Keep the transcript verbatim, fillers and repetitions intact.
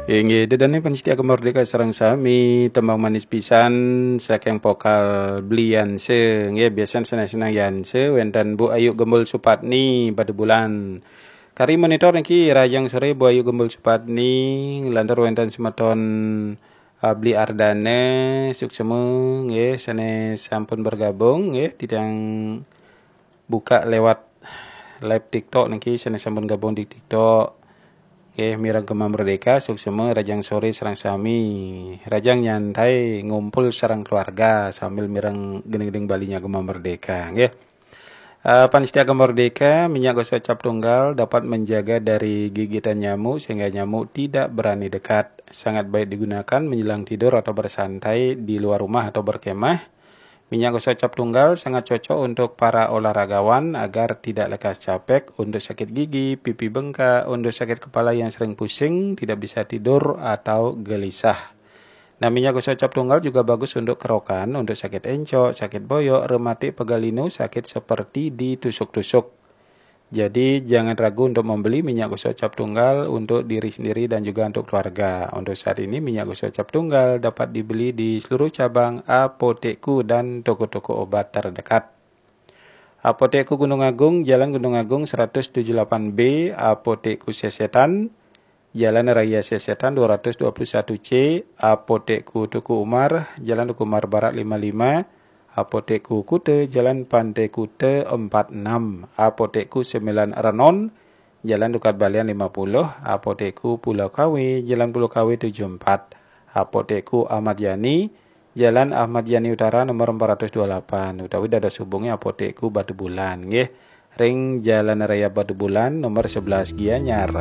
Inggih, dedane panyiti Gema Merdeka sareng sami, tembang manis pisan saking vokal Bli Yanse. Nggih, biasan senang-senang Yanse, wenten Bu Ayu Gembul Supatni, Batubulan. Kari monitor niki, rahajeng sore Bu Ayu Gembul Supatni, nglantur wenten semeton, eh, Bli Ardane, suksema, nggih, sane sampun bergabung, nggih, titiang buka lewat live TikTok niki, sane sampun gabung di TikTok. Nggih, mireng Gema Merdeka, suksema, rahajeng sore sareng sami. Rahajeng nyantai, ngumpul sareng keluarga sambil mireng gending-gending Balinya Gema Merdeka, nggih. Eh, panyiti Gema Merdeka, minyak gosok cap tunggal dapat menjaga dari gigitan nyamuk sehingga nyamuk tidak berani dekat. Sangat baik digunakan menjelang tidur atau bersantai di luar rumah atau berkemah. Minyak gosok cap tunggal sangat cocok untuk para olahragawan agar tidak lekas capek, untuk sakit gigi, pipi bengkak, untuk sakit kepala yang sering pusing, tidak bisa tidur, atau gelisah. Nah, minyak gosok cap tunggal juga bagus untuk kerokan, untuk sakit encok, sakit boyok, rematik, pegal linu, sakit seperti ditusuk-tusuk. Jadi, jangan ragu untuk membeli minyak gosok cap tunggal untuk diri sendiri dan juga untuk keluarga. Untuk saat ini, minyak gosok cap tunggal dapat dibeli di seluruh cabang Apotekku dan toko-toko obat terdekat. Apotekku Gunung Agung, Jalan Gunung Agung seratus tujuh delapan B, Apotekku Sesetan, Jalan Raya Sesetan dua ratus dua puluh satu C, Apotekku Teuku Umar, Jalan Teuku Umar Barat lima lima, Apotekku Kuta, Jalan Pantai Kuta empat enam, Apotekku Sembilan Renon, Jalan Dukat Balian lima puluh, Apotekku Pulau Kawe, Jalan Pulau Kawe tujuh empat, Apotekku Ahmad Yani, Jalan Ahmad Yani Utara nomor empat ratus dua puluh delapan, utawi dados hubungi Apotekku Batubulan, nggih. Ring Jalan Raya Batubulan nomor sebelas Gianyar.